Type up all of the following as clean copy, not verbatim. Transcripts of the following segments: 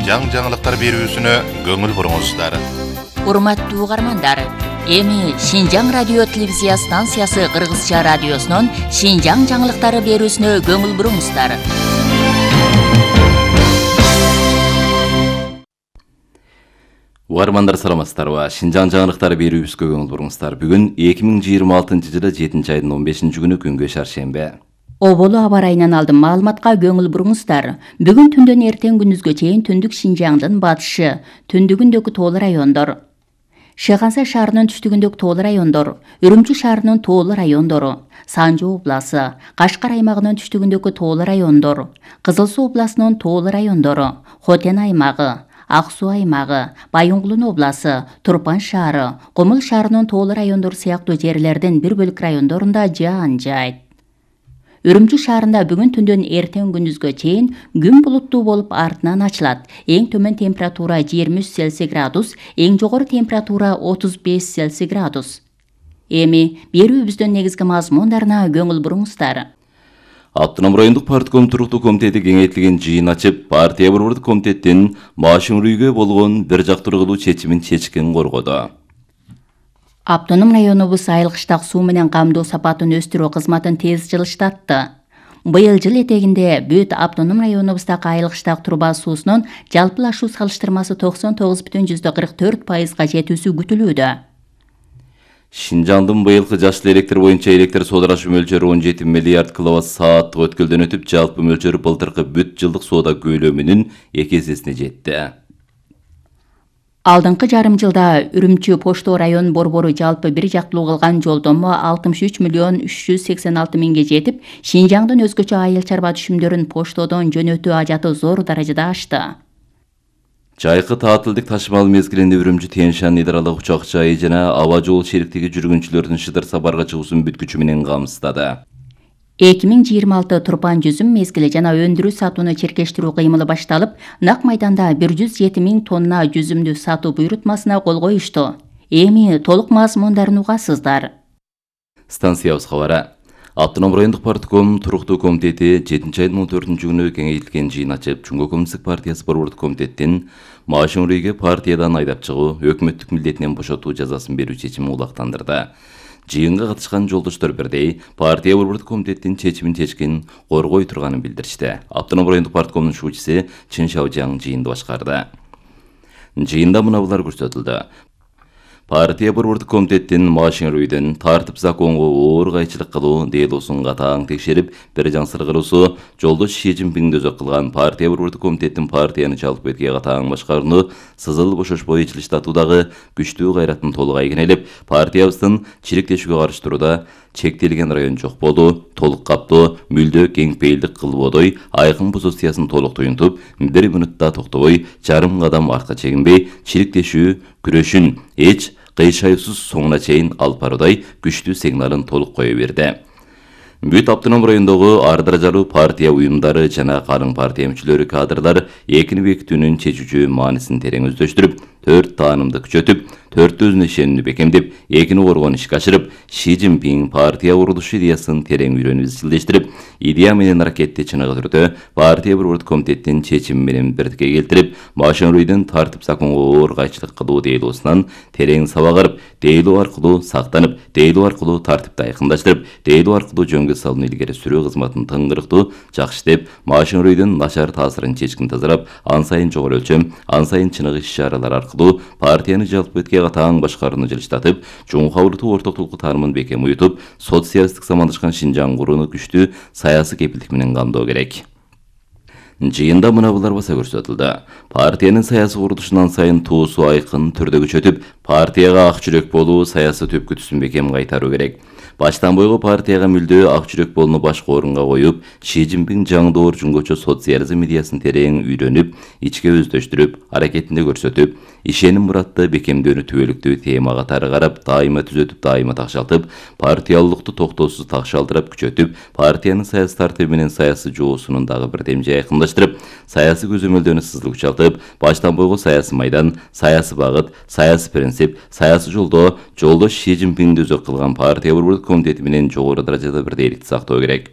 Шинжаң жаңылыктар берүүсүнө көңүл буруңуздар. Урматтуу угармандар, эми Шинжаң радио телевизия станциясы Кыргызча радиосунун Шинжаң жаңылыктары берүүсүнө көңүл буруңуздар. Угармандар саламатсыздарбы? Шинжаң жаңылыктары берүүбүзгө көңүл буруңуздар. Бүгүн 2026-жылы 7-айдын 15-күнү күнгө шаршембе. Оболу аба ырайынан алдым маалыматка көңүл буруңуздар. Бүгүн түндөн эртең күндүзгө чейин түндүк Шинжаңдын батышы, түндүгүндөгү тоолуу райондор, Шыгансай шаарынын түштүгүндөгү тоолуу райондор, Үрүмчү шаарынын тоолуу райондору, Санжы обласы, Кашкар аймагынын түштүгүндөгү тоолуу райондор, Кызыл Суу областынын тоолуу райондору, Хотен аймагы, Ак Суу аймагы, Байынгулун обласы, Турпан шаары, Кумул шаарынын тоолуу райондору сыяктуу жерлердин бир бөлүк райондорунда жаан жаайт. Үрүмчү шаарында бүгүн түндөн эртең күндүзгө чейин күн булуттуу болуп артынан ачылат. Эң төмөн температура 23 Цельсий градус, эң жогору температура 35 Цельсий градус. Эми берүүбүздүн негизги мазмундарына көңүл буруңуздар. Автоном райондук партком туруктуу комитети кеңейтилген жыйын ачып, партия борбордук комитеттин Машин Рүйгө болгон бир жактуу кылуу чечимин чечкен коргоду. Автоном районубуз айыл кыштак суу менен камдоо сапатын өстүрүү кызматын тез жылыштатты. Быйыл жыл этегинде бүт автоном районубуздагы айыл кыштак труба суусунун жалпылашуу салыштырмасы 99,44%га жетүүсү күтүлүүдө. Шинжаңдын быйылкы жаштуу электр боюнча электр соодарашы мөлчөрү 17 миллиард киловатт-саат өткөлдөн өтүп, жалпы мөлчөрү былтыркы бүт жылдык соода көлөмүнүн 2 эсесине жетти. Алдыңкы жарым жылда Үрүмчү Поштоо район борбору жалпы бир жактуу кылган жолдомо 63 миллион 386 миңге жетип, Шинжаңдын өзгөчө айыл чарба түшүмдөрүн поштодон жөнөтүү ажаты зор даражада ашты. Жайкы таатылдык ташымал мезгилинде Үрүмчү Тянь-Шань идаралык учак жайы жана аба жол шериктиги жүргүнчүлөрдүн шыдыр сапарга чыгуусун бүткүчү менен камсыздады. 2026 Турпан жүзүм мезгили жана өндүрүү сатууну черкештирүү кыймылы башталып, нак майданда 107 миң тонна жүзүмдү сатуу буйрутмасына кол коюшту. Эми толук мазмундарын угасыздар. Станциябыз кабары. Автоном райондук партком туруктуу комитети 7-айдын 14-күнү кеңейтилген жыйын ачып, Жумгок Коммунисттик партиясы борбордук комитеттин Машин Рүйгө партиядан айдап чыгуу, өкмөттүк милдетинен бошотуу жазасын берүү чечимин улактандырды. Жыйынга катышкан жолдоштор бирдей партия борбордук комитеттин чечимин чечкен коргой турганын билдиришти. Автоном райондук парткомдун шуучусу Чын Шаожаң жыйынды башкарды. Жыйында мынабулар көрсөтүлдү. Партия борбордук комитеттин Машин Рүйдөн тартип законго оор кайчылык кылуу делосун катаң текшерип, бир жаңсыр кыруусу жолдош Ши Цзиньпин өзөк кылган партия борбордук комитеттин партияны чалып кетке катаң башкарууну сызыл бошошпой жылыштатуудагы күчтүү кайратын толук айгинелеп, партиябыздын чириктешүүгө каршы турууда чектелген район жок болуу, толук каптоо, мүлдө кең пейилдик кылбодой айкын позициясын толук туюнтуп, 1 минутта токтобой, жарым кадам артка чегинбей, чириктешүү күрөшүн эч кыйшайсыз соңуна чейин алып баруудай күчтүү сигналын толук кое берди. Бүт автоном райондогу ар даражалуу партия уюмдары жана калың партия мүчөлөрү кадрлар экини бекитүүнүн чечүүчү маанисин терең өздөштүрүп, 4 таанымды күчөтүп, 4 өзүнө ишенүүнү бекемдеп, экини коргон ишке ашырып, Ши Цзиньпин партия курулушу идеясын терең үйрөнүп изчилдештирип, идея менен аракетти чыныгы түрдө партия борбордук комитеттин чечими менен бирдикке келтирип, Машин Рүйдөн тартип законго оор кайчылык кылуу дейлоосунан терең сабак дейлоо аркылуу сактанып, дейлоо аркылуу тартипти айкындаштырып, дейлоо аркылуу жөнгө салууну илгери сүрүү кызматын тыңгырыктуу жакшы иштеп, Машин Рүйдөн начар таасирин чечкин тазалап, ан сайын жогору өлчөм, ан сайын чыныгы иш-чаралар аркылуу партияны жалпы бетке катаң башкарууну жылыштатып, чоң кабылдуу ортоктук таанымын бекем уютуп, социалисттик замандашкан Шинжаң курууну күчтүү саясий кепилдик менен камдоо керек. Жыйында мынабулар баса көрсөтүлдү. Партиянын саясий курулушунан сайын туусу айкын түрдө күчөтүп, партияга ак жүрөк болуу, саясий түпкүтүсүн бекем кайтаруу керек. Баштан бойго партияга мүлдө ак жүрөк болууну башкы орунга коюп, Ши Цзиньпин жаңдоор жөнгөчө социализм идеясын терең үйрөнүп, ичке өздөштүрүп, аракетинде көрсөтүп, ишеним муратты бекемдөөнү түбөлүктүү тема катары карап, дайыма түзөтүп, дайыма такшалтып, партиялуулукту токтоосуз такшалтырып, күчөтүп, партиянын саясий тартиби менен саясий жоосунун дагы бирдемже айкындаштырып, саясий көзөмөлдөөнү сызыл күчалтып, баштан бойго саясий майдан, саясий багыт, саясий принцип, саясий жолдо жолдош Ши Цзиньпинди өзөк кылган партия борбордук комитети менен жогору даражада бирдейликти сактоо керек.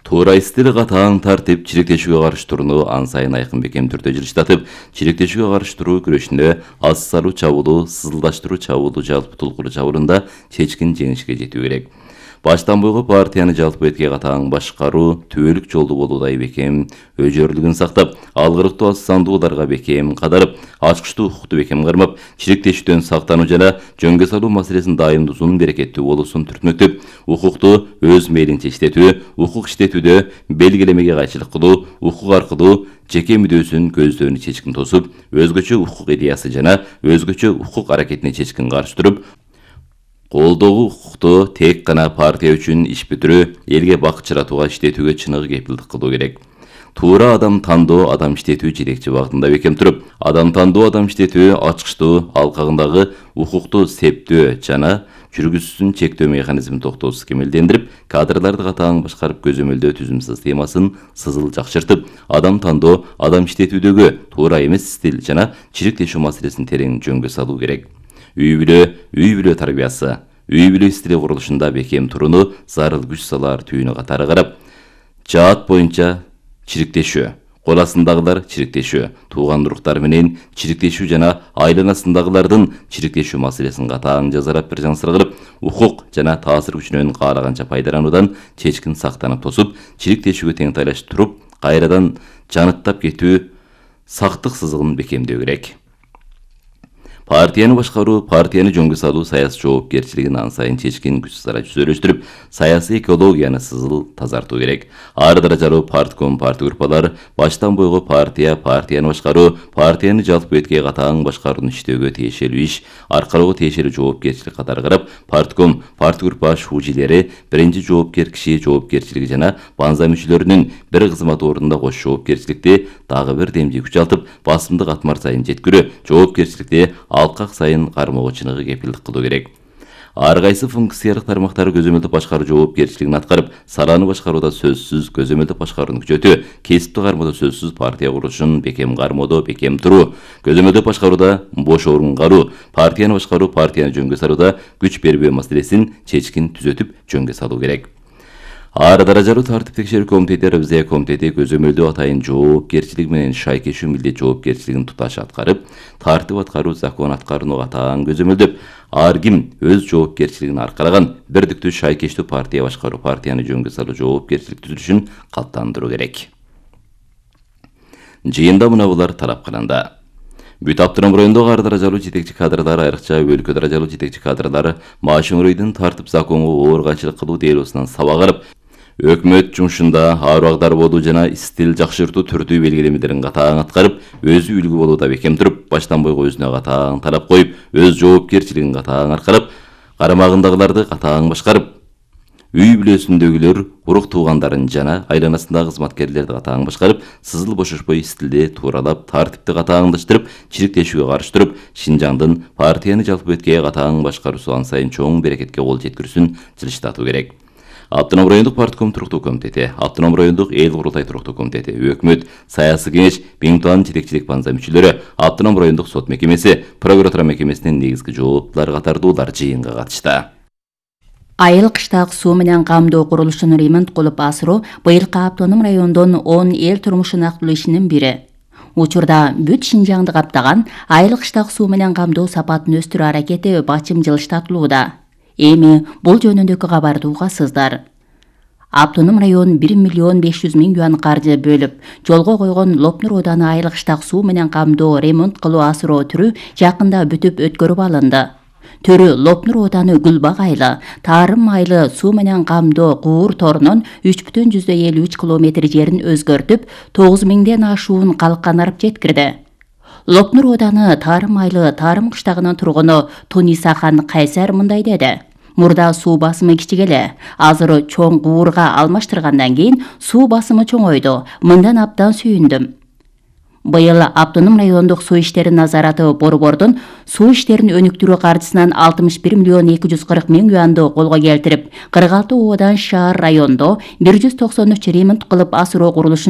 Туура стил катаң тартип чириктешүүгө каршы турууну ан сайын айкын бекем түрдө жылыштатып, чириктешүүгө каршы туруу күрөшүндө аз салуу чабуулу, сызылдаштыруу чабуулу жалпы тулкулуу чабуулунда чечкин жеңишке жетүү керек. Баштан бойго партияны жалпы этке катаң башкаруу, түбөлүк жолду болуудай бекем өжөрлүгүн сактап, алгырыктуу аз сандууларга бекем кадарып, ачкычтуу укукту бекем кармап, чириктешүүдөн сактануу жана жөнгө салуу маселесин дайым узун берекеттүү болуусун түртмөктөп, укукту өз мээлинче иштетүү, укук иштетүүдө белгилемеге кайчылык кылуу, укук аркылуу жеке мүдөөсүн көздөөнү чечкин тосуп, өзгөчө укук идеясы жана өзгөчө укук аракетине чечкин каршы туруп, колдогу укукту тек гана партия үчүн иш бүтүрүү, элге бак чыратууга иштетүүгө чыныгы кепилдик кылуу керек. Туура адам тандоо, адам иштетүү жетекчи багытында бекем туруп, адам тандоо, адам иштетүү ачкычтуу, алкагындагы укукту септөө жана жүргүзүүсүн чектөө механизмин токтоосуз кемелдендирип, кадрларды катаң башкарып көзөмөлдөө түзүм системасын сызыл жакшыртып, адам тандоо, адам иштетүүдөгү туура эмес стиль жана чириктешүү маселесин терең жөнгө салуу керек. Үй бүлө тарбиясы, үй бүлө стили курулушунда бекем турууну зарыл күч салаар түйүнү катары карап, жаат боюнча чириктешүү, кол астындагылар чириктешүү, тууган уруктар менен чириктешүү жана айланасындагылардын чириктешүү маселесин катаң жазарап бир жансыр кылып, укук жана таасир күчүнөн каалаганча пайдалануудан чечкин сактанып тосуп, чириктешүүгө тең тайлашып туруп, кайрадан жаныттап кетүү сактык сызыгын бекемдөө керек. Партияны башкаруу, партияны жөнгө салуу саясий жоопкерчилигин ан сайын чечкин күч сара жүзөлөштүрүп, саясий экологияны сызыл тазартуу керек. Ар даражалуу партком партия группалар баштан бойго партияны башкаруу, партияны жалпы этке катаң башкарууну иштөөгө тиешелүү иш, аркалоого тиешелүү жоопкерчилик катары карап, партком партия группа шужилери биринчи жоопкер киши жоопкерчилиги жана банза мүчөлөрүнүн бир кызмат ордунда кош жоопкерчиликти дагы бир демди күчалтып, басымдык атмар сайын жеткирүү, жоопкерчиликти алкак сайын кармоого чыныгы кепилдик кылуу керек. Ар кайсы функциялык тармактары көзөмөлдүп башкаруу жоопкерчилигин аткарып, саланы башкарууда сөзсүз көзөмөлдүп башкарууну күчөтүү, кесипти кармоодо сөзсүз партия курулушун бекем кармоодо бекем туруу, көзөмөлдүп башкарууда бош орун каруу, партияны башкаруу, партияны жөнгө салууда күч бербөө маселесин чечкин түзөтүп жөнгө салуу керек. Ар даражалуу тартип текшерүү комитети, ревизия комитети көзөмөлдөө атайын жоопкерчилик менен шайкешүү милдет жоопкерчилигин туташ аткарып, тартип аткаруу, закон аткарууну атаң көзөмөлдөп, ар ким өз жоопкерчилигин аркалаган бирдиктүү шайкештүү партия башкаруу, партияны жөнгө салуу жоопкерчилик түзүлүшүн каттандыруу керек. Жыйында мына булар талап кылынды. Бүт Автоном райондогу ар даражалуу жетекчи кадрлар, айрыкча өлкө даражалуу жетекчи кадрлар Машин районунун тартип законго оор кайчылык кылуу делосунан сабак алып, өкмөт жумушунда абагдар болуу жана стил жакшыртуу түрдүү белгилемелерин катаң аткарып, өзү үлгү болууда бекем туруп, баштан бойго өзүнө катаң талап коюп, өз жоопкерчилигин катаң аркалап, карамагындагыларды катаң башкарып, үй бүлөсүндөгүлөр, урук туугандарын жана айланасындагы кызматкерлерди катаң башкарып, сызыл бошошпой стилди тууралап, тартипти катаңдаштырып, чириктешүүгө каршы туруп, Шинжаңдын партияны жалпы этке катаң башкаруусу ан сайын чоң берекетке кол жеткирүүсүн жылыштатуу керек. Автоном райондук партком туруктуу комитети, Автоном райондук эл курултай туруктуу комитети, өкмөт, саясий кеңеш, Биңтуан жетекчилик банза мүчөлөрү, Автоном райондук сот мекемеси, прокуратура мекемесинин негизги жооптуулары катардуулар жыйынга катышты. Айыл кыштак суу менен камдоо курулушун ремонт кылып асыруу быйылкы Автоном райондун 10 эл турмушун актылуу ишинин бири. Учурда бүт Шинжаңды каптаган айыл кыштак суу менен камдоо сапатын өстүрүү аракети бачым жылыштатылууда. Эми бул жөнүндөгү кабарды угасыздар. Автоном район 1 миллион 500 миң юан каржы бөлүп, жолго койгон Лопнур ооданы айыл кыштак суу менен камдоо ремонт кылуу асыроо түрү жакында бүтүп өткөрүп алынды. Төрү Лопнур ооданы Гүлбак айылы, Тарым айылы суу менен камдоо Куур торунун 3,53 километр жерин өзгөртүп, 9 миңден ашуун калканарып жеткирди. Лопнур ооданы Тарым айылы Тарым кыштагынын тургуну Тунисахан Кайсар мындай деди. Мурда суу басымы кичик эле, азыр чоң Куурга алмаштыргандан кийин суу басымы чоңойду. Мындан абдан сүйүндүм. Быйыл Автоном райондук суу иштери назараты борбордун суу иштерин өнүктүрүү каржысынан 61 миллион 240 миң юанды колго келтирип, 46 оодан шаар райондо 193 ремонт кылып асыроо курулушун